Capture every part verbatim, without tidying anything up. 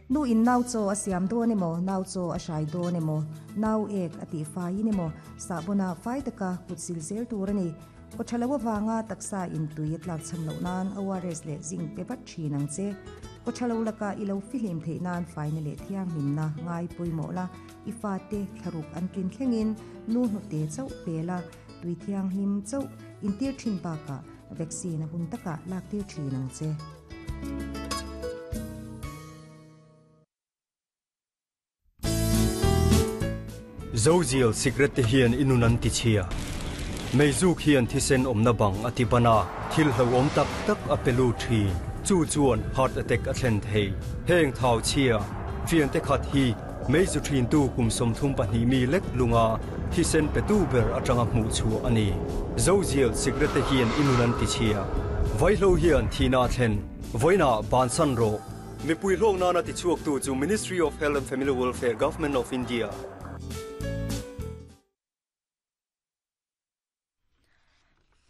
Nu in nau chaw a siam dawn emaw, nau chaw a hrai dawn emaw, nau ek a tih faiin emaw, sahbawnah fai taka kut sil zel tur a ni. Kawthalo avanga taksa in tui a tlak cham loh nan O R S leh zinc pe vat thin ang che. Kawthalo laka i lo fihlim theih nan faina leh thianghlimna ngai pawimawh la, i fate thlaruk an tlin thlengin nu hnute chauh pe la, tui thianghlim chauh intir thin bakah vaccine a hun takah lak tir thin ang che. Zozial cigarette te hian i nun an ti chhia. Meizuk hian thisen awmna bang a ti ban a, thil hlauhawm tak tak a pe lut thin. Chu chuan heart attack a thlen thei. Heng thau chhia fiante khat hi meizu thintu kum sawmthum pahnih mi lek lunga thisen petu ber atanga hmuh chhuah a ni. Zozial cigarette te hian i nun an ti chhia. Vaihlo hian thihna a thlen. Vawiinah bansan rawh. Mipui hlawk nana tichhuaktu chu Ministry of Health and Family Welfare, Government of India.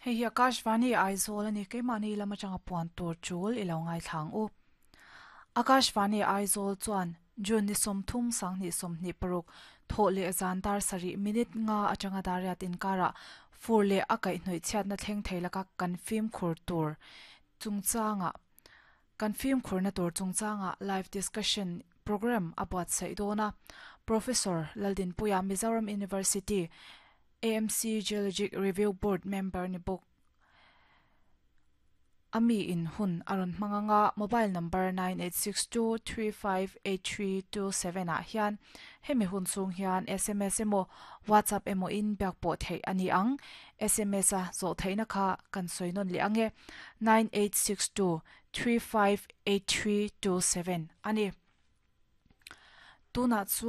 Hei hi Akashvani Aizawl a ni, keimahni lam atanga puan tur chul i lo ngaithlang u. Akashvani Aizawl chuan June ni sawmthum sanghnih sawmhnih paruk thawh leh zan dar sarih minute nga atanga dariat inkarah fur leh a kaihhnawih chhiatna thleng thei laka kan fimkhur tur chungchangah Kan fimkhurna tur chungchangah live discussion programme a buatsaih dawn a. Professor Laldinpuia Mizoram University A M C Geologic Review Board member ni bawk a mi in hun a rawn hmang ang a, mobile number nine eight six two three five eight three two seven ah hian hemi hun chhung hian S M S emaw WhatsApp emaw in biak pawh theih a ni ang. S M S a zawh theihna kha kan sawi nawn leh ang e, nine eight six two three five eight three two seven a ni. Tunah chuan.